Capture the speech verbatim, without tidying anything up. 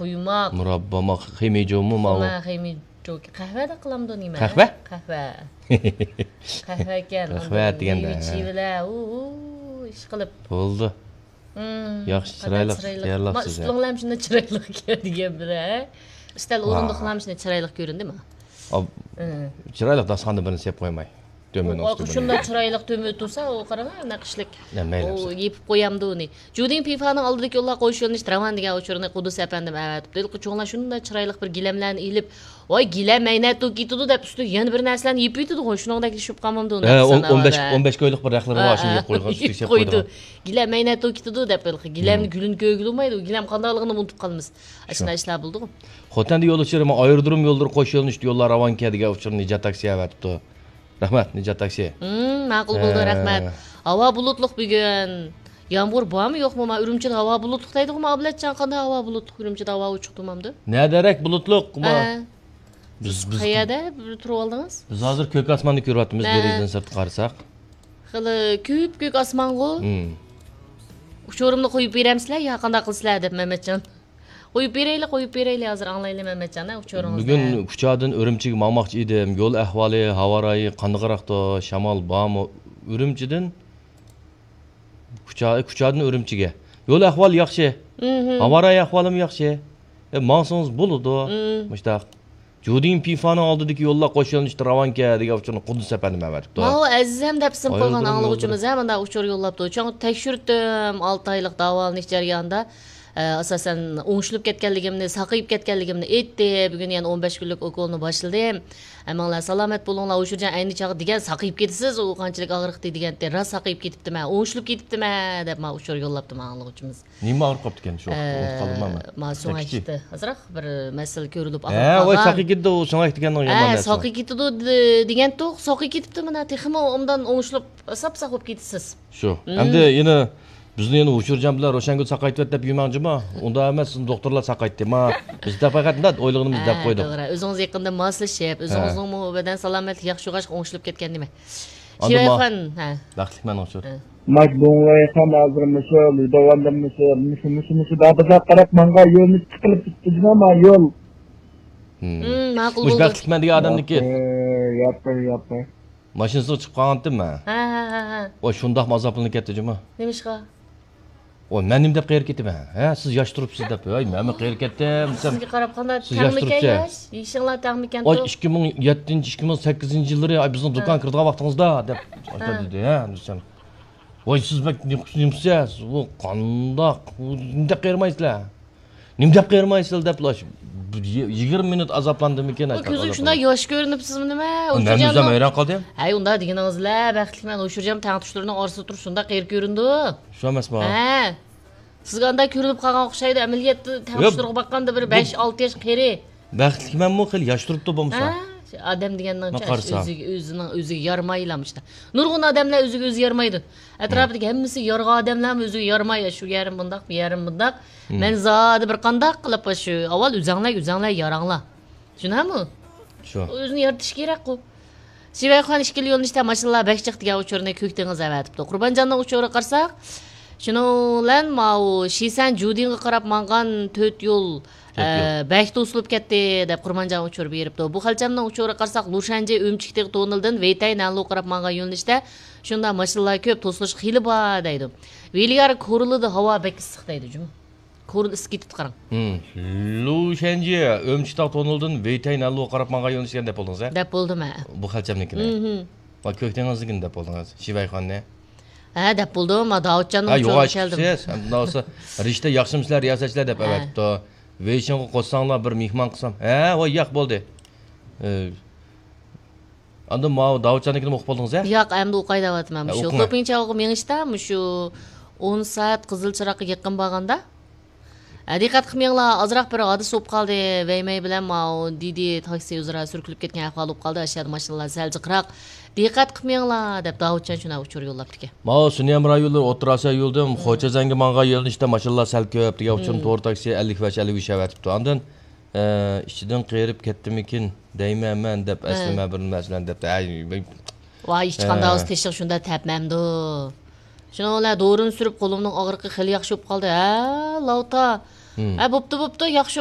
قۇيماق. مۇراببا، ما خېمىجۇمۇ ماۋۇ. خۇما، خېمىجۇ. قەھۋە دە قىلامدۇ نېمە؟ قەھۋە؟ قەھۋە. قەھۋە ئىكەن. قەھۋە ئاندىن دېگەندە، مېۋە ھە. چىۋىلە، ئۇ، ئۇ، ئىش قىلىپ. بولدى. مم، ياخشى، قانداق چىرايلىق چىرايلىق. تەييارلاپسىز، ما ھە. ئۈستىلىڭلار شۇنداق چىرايلىق دېگەن بىلەن، ھە؟ ئۈستەل ۋاھ. ئورۇندۇقلار شۇنداق چىرايلىق كۆرۈندىمۇ؟ ئا، مم. چىرايلىق داستىخاندا بىرنى سېلىپ قويماي. تۆمۈر ئۇ، ئۇستىدا شۇنداق بىرنى. چىرايلىق تۆمۈر تۇرسا، ئۇ قاراڭا، نەقىشلىك. نە، مەيلى ئۇ قىلسۇن. يېپىپ قويامدۇ ئۇنى. جۇدىڭ پىفانىڭ ئالدىدىكى يوللار قوش يۆنىلىش راۋان دېگەن ئۇچۇرنى قۇددۇس ئەپەندىم ئەۋەتىپتۇ. ھېلىقى چوڭلار شۇنداق چىرايلىق بىر گىلەملەرنى ئېلىپ، ۋاي، گىلەم مەينەت توك كېتىدۇ دەپ، ئۈستىگە يەنە بىر نەرسىلەرنى يېپىۋېتىدىغۇ، شۇنىڭدەك ئىش بولۇپ قالمامدۇ ھە، ئۇنداق ئون، ساڭا ئون بەش، ئادە. ئون بەش كويلۇق بىر رەخلىرى بار، شۇنى ھە، يېپىپ قويغان، ئۈستىگە سېلىپ قويىدۇ. گىلەم مەينەت توك كېتىدۇ دەپ، ھېلىقى گىلەمنى مم. گۈلىنى كۆرگىلى بولمايدۇ، گىلەم قانداقلىقىنى ئۇنتۇپ قالىمىز. شۇ. ئاشۇنداق ئىشلار بولىدىغۇ. خوتەندە يول ئۇچۇرى، ئايرودروم يوللىرى قوش يۆنىلىشتە يوللار راۋانكەن دېگەن ئۇچۇرنى نىجات تاكسى ئەۋەتىپتۇ. رەھمەت، نىجات تاكسى. مم، ماقۇل بولدى، ھە. رەھمەت. ھاۋا بۇلۇتلۇق بۈگۈن. يامغۇر بارمۇ، يوقمۇ؟ ما ئۈرۈمچىدە ھاۋا بۇلۇتلۇق دەيدىغۇ، ما ئابلەتجان، قانداق ھاۋا بۇلۇتلۇق؟ ئۈرۈمچىدە ھاۋا ئوچۇق تۇرمامدۇ؟ نەدەرەك بۇلۇتلۇق؟ ما ھە. بىز، سىز بىز، قەيەردە بىر تۇرۇۋالدىڭىز؟ بىز ھازىر كۆك ئاسماننى كۆرۈۋاتىمىز، ھە. دېرىزىدىن سىرتقا قارىساق. خېلى كۆپ كۆك ئاسمانغۇ. مم. ئۇچۇرۇمنى قويۇپ بېرەمسىلەر يا قانداق قىلىسىلەر دەپ، مەمەتجان. قويۇپ بېرەيلى، قويۇپ بېرەيلى، ھازىر ئاڭلايلى مەمەتجان، ھە، ئۇچۇرىڭىزنى. بۈگۈن كۇچادىن ئۈرۈمچىگە ماڭماقچى ئىدىم. يول ئەھۋالى، ھاۋا رايى قانداقراقتۇ؟ شامال بارمۇ؟ ئۈرۈمچىدىن كۇچا-، كۇچادىن ئۈرۈمچىگە. يول ئەھۋالى ياخشى. مم. ھاۋا رايى ئەھۋالىمۇ ياخشى. ئە، ماڭسىڭىز بولىدۇ. مم. مۇشتاق. جۇدىن پىفانىڭ ئالدىدىكى يوللار قوش يۆنىلىشتە راۋانكەن دېگەن ئۇچۇرنى قۇددۇس ئەپەندىم ئەۋەتىپتۇ. ماۋۇ ئەزىزەم دەپ ئىسىم قويغان ئايرودروم ئاڭلىغۇچىمىز يوللىرى. ھە مۇنداق ئۇچۇر يوللاپتۇ. چوڭ تەكشۈرتتۈم، ئالتە ئايلىق داۋالىنىش جەريانىدا، ئە، ئاساسەن ئوڭشىلىپ كەتكەنلىكىمنى، ساقىيىپ كەتكەنلىكىمنى ئېيتتى. بۈگۈن يەنە ئون بەش كۈنلۈك ئوكولنى باشلىدىم. ھەممىڭلار سالامەت بولۇڭلار، ئۇچۇرجان ئەينى چاغدا دېگەن ساقىيىپ كېتىسىز، ئۇ قانچىلىك ئاغرىقتى دېگەنتى. راست ساقىيىپ كېتىپتىمەن، ئوڭشىلىپ كېتىپتىمەن دەپ ماڭا ئۇچۇر يوللاپتۇ ماڭا ئاڭلىغۇچىمىز. نېمە ئاغرىپ قاپتىكەن شۇ ۋاقىتتا؟ ئۇنتۇپ قالدىم مەن. ئە، ما سۆڭەكتە ئازراق بىر مەسىلە كۆرۈلۈپ ئاغرىپ قالغان. ھە، ۋاي، ساقىي كېتىدۇ، ئۇ سۆڭەكتە دېگەن يامان نەرسە. ساقىي كېتىدۇ دېگەنتۇق، ساقىي كېتىپتۇ مانا، تېخىمۇ ئۇندىن ئوڭشىلىپ ساپساق بولۇپ كېتىسىز. شۇ. مم. ئەمدى يەنە بىزنى يەنە ئۇچۇرجان بىلەن روشەنگۈل ساقايتىۋەت دەپ يۈرمەڭ جۇمۇ. ئۇنداق ئەمەس، سىزنى دوختۇرلار ساقايتتى. ما، بىز دە پەقەت مۇنداق ئويلىغىنىمىزنى دەپ قويدۇق. توغرا. ئۆزىڭىز يېقىندا ماسلىشىپ، ھە. ئۆزىڭىزنىڭمۇ بەدەن سالامەتلىكى ياخشى بولغاچقا ئوڭشىلىپ كەتكەن نېمە. ئاندىن شىۋەيخان، ھە. بەختلىكمەن ئۇچۇر. ھە. ماش بوڭلايخان ھازىر مۇشۇ، داۋاندىن مۇشۇ، مۇشۇ، مۇشۇ، مۇشۇ، بابىزار قاراپ ماڭغان يولنى چىقىرىپ تۇتتى جۇمۇ، ما يول. مم. مم، ماقۇل بولدى. مۇشۇ بەختلىكمەن دېگەن ئادەمنىكى. ياپتى، ياپتى، ياپتى. ماشىنىسىغا چىقىپ قالغانتىم مەن. ھە، ھە، ھە، ھە. ۋاي، شۇنداقمۇ ئازابلىنىپ كەتتى جۇمۇ. نېمىشقا؟ ۋاي، مەن نېمە دەپ قېرىپ كېتىمەن؟ ھە، سىز ياش تۇرۇپسىز دەپ. ۋاي، مەنمۇ قېرىپ كېتىم دېسەم. سىزگە قاراپ قانداق، سىز ياش تەڭمىكەن تۇرۇپسىز. ياش؟ يېشىڭلار تەڭمىكەن ۋاي، تۇ؟ ئىككى مىڭ يەتتىنچى، ئىككى مىڭ سەككىزىنچى يىللىرى، ئاي، بىزنىڭ ھە. دۇكان كىرىدىغان ۋاقتىڭىزدا دەپ ھە. دېدى، ھە، دېسەم. ۋاي، سىز بەك نېمىسىز، نېمىسىز، ئۇ قانداق، ئۇ نېمە دەپ قېرىمايسىلەر؟ نېمە دەپ قېرىمايسىلەر دەپلا، بىر يىگىرمە مىنۇت ئازابلاندىمىكىن، بۇ ئاشۇنداق كۆزۈم ئازابلاندىم. شۇنداق ياش كۆرۈنۈپ سىزمۇ نېمە؟ مەن ئۆزۈم ھەيران قالدىم. ھەي، ئۇنداق دېگىنىڭىزلە، بەختلىكمەن، ئۇچۇرجان تەڭتۇشلىرىنىڭ ئارىسىدا تۇرۇپ شۇنداق قېرى كۆرۈندى. شۇ ئەمەسمۇ؟ ھە. سىزگە ئانداق كۆرۈنۈپ قالغان ئوخشايدۇ، ئەمەلىيەتتە ياق، تەڭتۇشلىرىغا باققاندا بىر بۇ بەش، ئالتە ياش قېرى. بەختلىكمەنمۇ خېلى ياش تۇرۇپتۇ بولمىسا. ھە؟ ئادەم دېگەننىڭ مانا قارىسا. ئۆزىگە، ئۆزىنىڭ ئۆزىگە يارىمايلا مۇشۇنداق. نۇرغۇن ئادەملەر ئۆزىگە ئۆزى يارىمايدۇ. ئەتراپىدىكى ھەممىسى يارغان ئادەملەرمۇ ئۆزىگە يارىماي، شۇ يېرىم بۇنداق، بۇ يېرىم بۇنداق. مم. مەن زادى بىر قانداق قىلىپ شۇ، ئاۋۋال ئۆزەڭلەر، ئۆزەڭلار ياراڭلار. شۇنداقمۇ؟ شۇ. ئۆزىنى يارىتىش كېرەكقۇ. شىۋەيخان ئىككىلا يۆنىلىشتە ماشىنىلار بەك جىق دېگەن ئۇچۇرنى كۆك دېڭىز ئەۋەتىپتۇ. قۇربانجاننىڭ ئۇچۇرىغا قارىساق، شۇنىڭ بىلەن ماۋۇ شىسەن جۇدىنغا قاراپ ماڭغان تۆت يول، تۆت يول. ئە، بەك توسۇلۇپ كەتتى دەپ قۇربانجان ئۇچۇر بېرىپتۇ. بۇ خەلچەمنىڭ ئۇچۇرىغا قارىساق، لۇشەنجى ئۈمچىك تېغى توننېلىدىن ۋېيتەي نەنلۇغا قاراپ ماڭغان يۆنىلىشتە شۇنداق ماشىنىلار كۆپ، توسۇلۇش خېلى بار دەيدۇ. ۋېلىيار كورلىدا ھاۋا بەك ئىسسىق دەيدۇ جۇمۇ. كورلا ئىسسىپ كېتىپتۇ قاراڭ. ھىم. لۇشەنجى ئۈمچىك تاغ توننېلىدىن ۋېيتەي نەنلۇغا قاراپ ماڭغان يۆنىلىشكەن دەپ بولدىڭىز، ھە؟ دەپ بولدۇم، ھە. بۇ خەلچەمنىڭكىنى. ھىم، ھىم. ۋە كۆك دېڭىزنىڭكىنى دەپ بولدىڭىز، شىۋەيخاننى. ھە، دەپ بولدۇم. ما داۋۇتجاننىڭ ھە، ئۇچۇرىغا يوغان كەلدىم. چىقىپسىز. ھەم مۇنداق بولسا، رىشتە ياخشىمۇسىلەر رىياسەتچىلەر دەپ ھە. ئەۋەتىپتۇ. ۋېيشىڭغا قوشساڭلار بىر مېھمان قىلسام. ھە، ۋاي ياق بولدى. ئى، ئاندىن ماۋۇ داۋۇتجاننىڭكىنىمۇ ئوقۇپ بولدىڭىز ھە؟ ياق، ئەمدى ئوقاي دەۋاتىمەن. ھە، مۇشۇ ئوقۇڭە. خوپىڭچاۋغا مېڭىشتا مۇشۇ ئون سائەت قىزىل چىراغقا يېقىن بارغاندا، ھە، دىققەت قىلمىڭلار، ئازراق بىر ھادىسە بولۇپ قالدى. ۋەيمەي بىلەن ماۋۇ دىدى تاكسى ئۆزئارا سۈركىلىپ كەتكەن ئەھۋال بولۇپ قالدى. ئاشۇ يەردە ماشىنىلار سەل جىقراق. دىققەت قىلمىڭلار دەپ داۋۇتجان شۇنداق ئۇچۇر يوللاپتىكەن. ماۋۇ سۈنيەم رايونلىرى ئوتتۇرا ئاسىيا يولىدىن خوچەزەنگە ماڭغان يۆنىلىشتە ماشىنىلار سەل كۆپ دېگەن ئۇچۇرنى تور تاكسى ئەللىك بەش، ئەللىك ئۈچ ئەۋەتىپتۇ. ئاندىن ئە، ئىچىدىن قېرىپ كەتتىمىكىن دەيمەن مەن دەپ ھە. ئەسلىمە بىر نەرسىلەرنى دەپتۇ. ھەي، ۋاي، ھېچقانداق ھە. ئاز تېشىغا شۇنداق تەپمەمدۇ. شۇنىڭ بىلەن دورىنى سۈرۈپ قولۇمنىڭ ئاغرىقى خېلى ياخشى بولۇپ قالدى. ھە، لاۋتا. ھىم. ھە، بوپتۇ، بوپتۇ، ياخشى